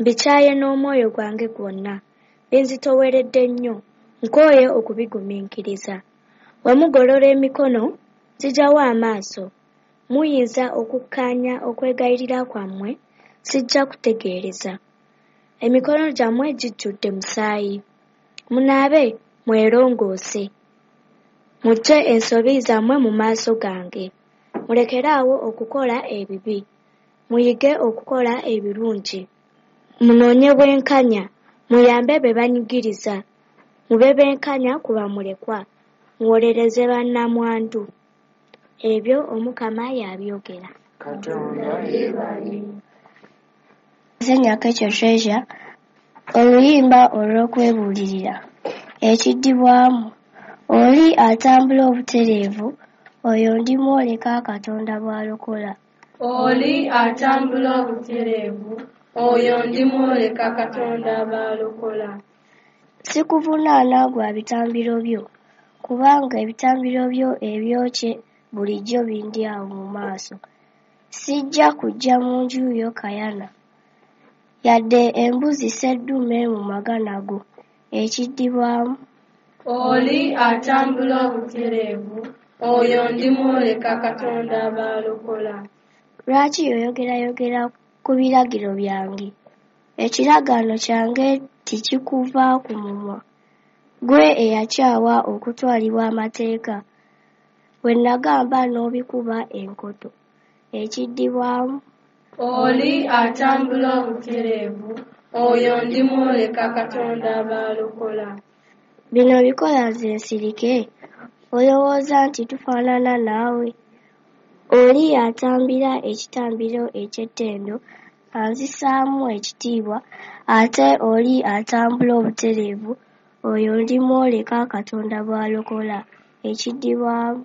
Mbikyaye n'omwoyo gwange gwonna, binzitooweredde nnyo, nkooye okubigumiikiriza. Bwe mugolola emikono, nzigyawo amaaso. Muyinza okukkaanya okwegayirira kwammwe, sijja kutegeereza. Emikono gyammwe gijjudde musaayi. Munaabe mwerongoose. Muggye ensobi zammwe mu maaso gange. Mulekere awo okukola ebibi. Muyige okukola ebirungi. Munoonye bwenkanya, muyambe be banyigiriza. Mube benkanya ku bamulekwa, muwolereze bannamwandu. Ebyo Omukama y'abyogera. Katonda yeebale. Nze Nyakekyo Treasure, oluyimba olw'okwebuulirira. Ekiddibwamu, Oli atambula obutereevu, oyo ndimwoleka Katonda bw'alokola. Oli atambula obutereevu, oyo ndimwoleka Katonda bw'alokola. Sikuvunaana gwa bitambiro byo, kubanga ebitambiro byo ebyokye bulijjo bindi awo mu maaso. Sijja kuggya mu nju yo kayana, yadde embuzi sseddume mu magana go. Ekiddibwamu. Oli atambula obutereevu, oyo ndimwoleka Katonda bw'alokola. Lwaki oyogerayogera ku biragiro byange? Ekiragaano kyange tekikuva ku mumwa. Ggwe eyakyawa okutwalibwa amateeka, bwe nagamba n'obikuba enkoto. Ekiddibwamu. Oli atambula obutereevu, oyo ndimwoleka Katonda bw'alokola. Bino obikola nze nsirike? Olowooza nti tufaanana naawe? Oli atambira ekitambiro eky'ettendo anzisaamu ekitiibwa, ate oli atambula obutereevu, oyo ndimwoleka Katonda bw'alokola. Ekiddibwamu.